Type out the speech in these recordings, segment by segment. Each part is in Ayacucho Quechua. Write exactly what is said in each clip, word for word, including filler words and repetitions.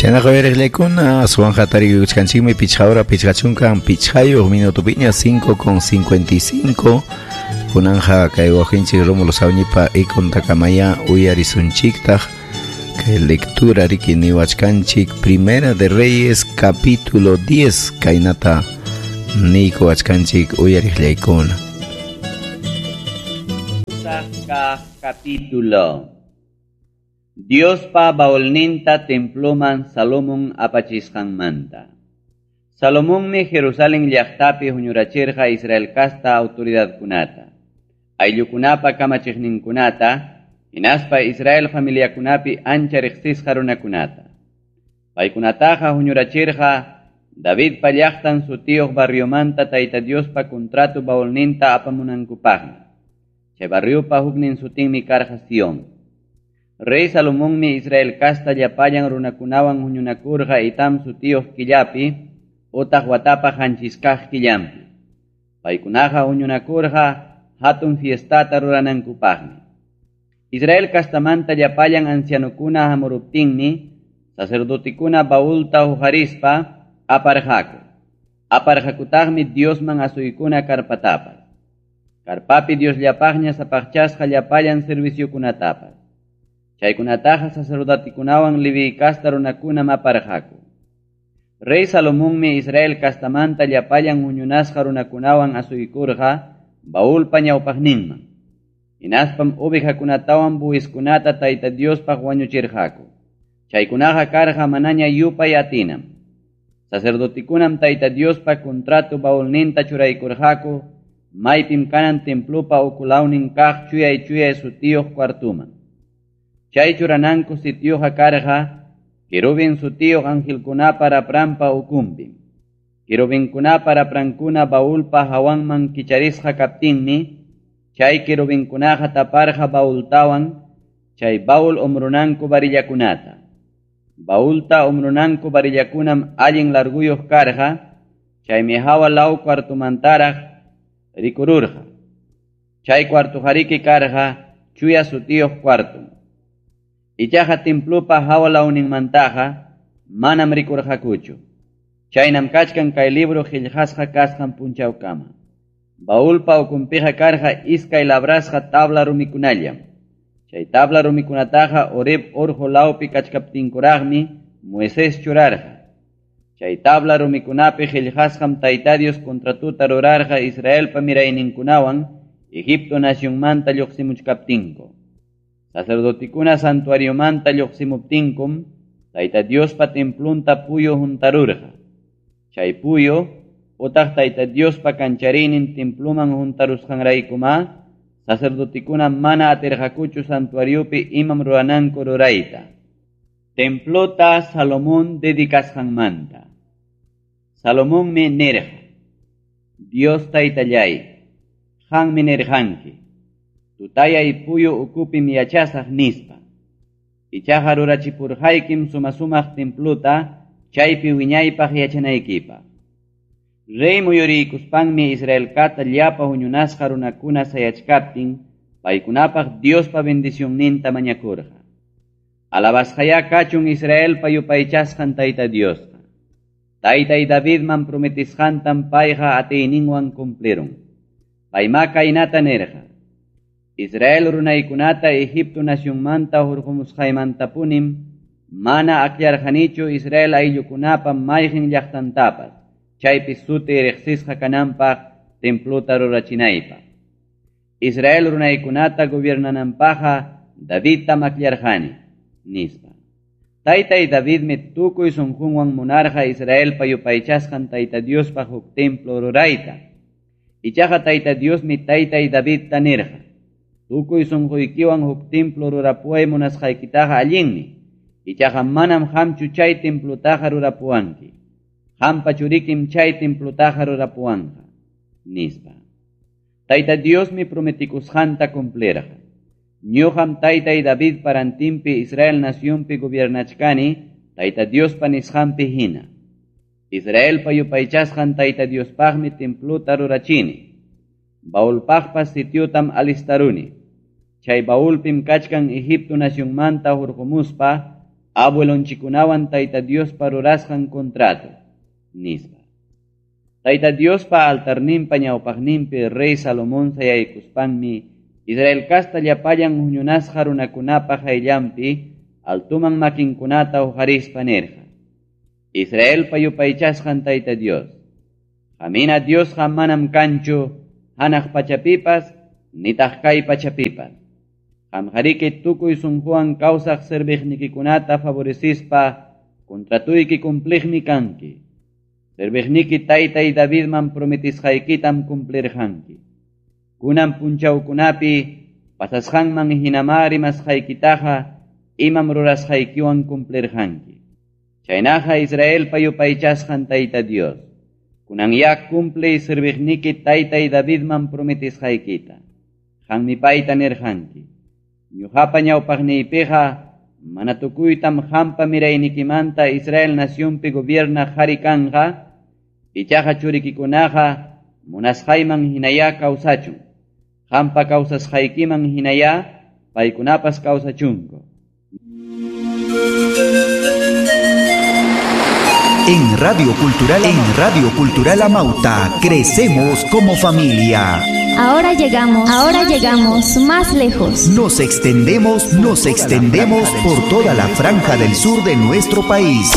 Chaynaqa uyariqllaykuna aswanqa tariykuchkanchikmi pichqa hora pichqa chunkan pichqayuq minutupiña cinco con cincuenta y cinco. Kunanja kay wawqinchik Rómulo Sawñipa ikuntakamaya uyarisunchiktaq kay lectura riki niwachkanchik Primera de Reyes capítulo diez kaynata niykuwachkanchik uyariqllaykuna. Capítulo Diospa baulninta temploman Salomón apachisqanmanta. Salomonmi Jerusalén llaqtapi huñurachirqa Israel kasta autoridadkunata, ayllukunapa kamachiqninkunata, hinaspa Israel familiakunapi ancha riqsisqa runakunata. Paykunataqa huñurachirqa Davidpa llaqtan sutiyuq barriomanta Tayta Diospa contrato baulninta apamunankupaqmi. Chay barriopa huknin sutinmi karqa Sion. Rey Salomonmi Israel kasta llapallan runakunawan huñunakurqa Itam sutiyuq killapi utaq watapa qanchiskaq killanpi. Paykunaqa huñunakurqa hatun fiestata ruranankupaqmi. Israel kastamanta llapallan ancianokuna hamuruptinmi sacerdotikuna baulta huqarispa aparqaku. Aparqakutaqmi Diosman asuykuna karpatapas. Karpapi Diosllapaqña sapaqchasqa llapallan serviciokunatapas. Chaykunataqa sacerdotikunawan Leví kasta runakunam aparqaku. Rey Salomonmi Israel kastamanta llapallan huñunasqa runakunawan asuykurqa baulpa ñawpaqninman. Hinaspam ovejakunatawan buwiskunata Tayta Diospaq wañuchirqaku. Chaykunaqa karqa manaña yupay atinam. Sacerdotikunam Tayta Diospa contrato baulninta churaykurqaku maypim kanan templopa ukulawnin kaq chuyay chuyay sutiyuq cuartuman. Chay churananku sitioqa karqa querubin sutiyuq angelkunapa rapranpa ukunpim. Querubinkunapa raprankuna baulpa hawanman kicharisqa kaptinmi chay querubinkunaqa taparqa baultawan chay baul umrunanku varillakunata. Baulta umrunanku varillakunam allin larguyuq karqa chaymi hawa law cuartumantaraq rikururqa. Chay cuartujariki karqa chuya sutiyuq cuartum. Ichaqa templopa hawa lawninmantaqa manam rikurqakuchu. Chaynam kachkan kay libro qillqasqa kasqan punchawkama. Baulpa ukunpiqa karqa iskay labrasqa tabla rumikunallam. Chay tabla rumikunataqa Horeb urqu lawpi kachkaptinkuraqmi Moisés churarqa. Chay tabla rumikunapi qillqasqam Tayta Dios contratuta rurarqa Israelpa mirayninkunawan Egipto nacionmanta lluqsimuchkaptinku. Sacerdotikuna santuariomanta lluqsimuptinkum Tayta Diospa templunta puyu huntarurqa. Chay puyu utaq Tayta Diospa kancharinin templuman huntarusqanraykuma sacerdotikuna mana atirqakuchu santuariopi imam rurananku rurayta. Templota Salomón dedicasqanmanta. Salomonmi nirqa: Dios Taytallay, qanmi nirqanki, tutayay puyu ukupim yachasaq nispa. Ichaqa rurachipurqaykim suma-sumaq templuta chaypi wiñaypaq yachanaykipaq. Rey muyuriykuspanmi Israel kata llapa huñunasqa runakuna sayachkaptin paykunapaq Diospa bendicionninta mañakurqa. Alabasqayá kachun Israelpa yupaychasqan Tayta Diosqa. Taytay Davidman prometisqantam payqa atiyninwan cumplirun. Paymá kaynata nirqa: Israel runaykunata Egipto nacionmanta hurqumusqaymantapunim mana aklarqanichu Israel ayllukunapa mayqin llaqtantapas chaypi suti riqsisqa kananpaq templota rurachinaypaq. Israel runaykunata gobiernananpaqqa Davidtam aklarqani, nispa. Taytay Davidmi tukuy sunqunwan munarqa Israelpa yupaychasqan Tayta Diospaq huk templo rurayta. Ichaqa Tayta Diosmi taytay Davidta nirqa: tukuy sunquykiwan huk templo rurapuway munasqaykitaqa allinmi. Ichaqa manam qamchu chay templotaqa rurapuwanki. Qampa churikim chay templotaqa rurapuwanqa, nispa. Tayta Diosmi prometikusqanta cumplirqa. Ñuqam taytay David parantinpi Israel nacionpi gobiernachkani Tayta Diospa nisqanpi hina. Israelpa yupaychasqan Tayta Diospaqmi templota rurachini. Baulpaqpas sitiotam alistaruni. Chay baulpim kachkan Egipto nacionmanta hurqumuspa abuelonchikunawan Tayta Diospa rurasqan contrato, nispa. Tayta Diospa altarninpa ñawpaqninpi rey Salomón sayaykuspanmi Israel kasta llapallan huñunasqa runakunapa qayllanpi altuman makinkunata huqarispa nirqa: Israelpa yupaychasqan Tayta Dios, qamina Diosqa manam kanchu hanaq pachapipas nitaq kay pachapipas. Qamqariki tukuy sunquwan kawsaq serviqnikikunata favorecispa contratuyki cumpliqmi kanki. Serviqniki taytay Davidman prometisqaykitam cumplirqanki. Kunan punchawkunapi pasasqanman hinamá rimasqaykitaqa imam rurasqaykiwan cumplirqanki. Chaynaqa Israelpa yupaychasqan Tayta Dios, kunan ya cumple serviqniki taytay Davidman prometisqaykita. Qanmi payta nirqanki: Ñuqapa ñawpaqniypiqa mana tukuytam qampa miraynikimanta Israel nacionpi gobiernaq qhari kanqa, ichaqa churikikunaqa munasqayman hinayá kawsachun. Qampa kawsasqaykiman hinayá paykunapas kawsachunku. En Radio Cultural, en Radio Cultural Amauta, crecemos como familia. Ahora llegamos, ahora llegamos más lejos. Nos extendemos, nos extendemos por toda la franja del sur de nuestro país.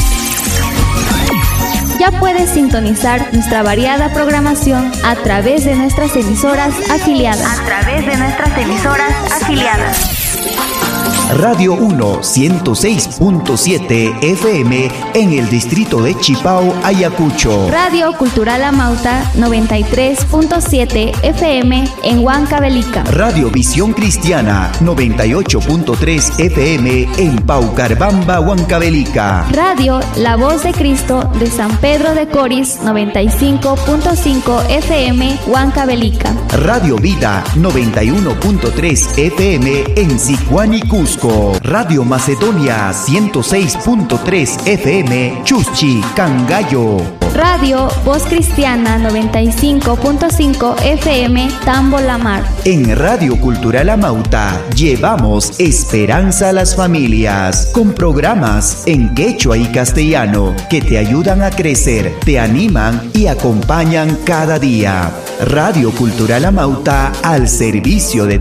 Ya puedes sintonizar nuestra variada programación a través de nuestras emisoras afiliadas. A través de nuestras emisoras afiliadas. Radio uno, ciento seis punto siete F M en el distrito de Chipao, Ayacucho. Radio Cultural Amauta, noventa y tres punto siete F M en Huancavelica. Radio Visión Cristiana, noventa y ocho punto tres F M en Paucarbamba, Huancavelica. Radio La Voz de Cristo de San Pedro de Coris, noventa y cinco punto cinco F M, Huancavelica. Radio Vida, noventa y uno punto tres F M en Sicuani, Cusco. Radio Macedonia, ciento seis punto tres F M, Chuschi, Cangallo. Radio Voz Cristiana, noventa y cinco punto cinco F M, Tambo La Mar. En Radio Cultural Amauta llevamos esperanza a las familias con programas en quechua y castellano que te ayudan a crecer, te animan y acompañan cada día. Radio Cultural Amauta al servicio de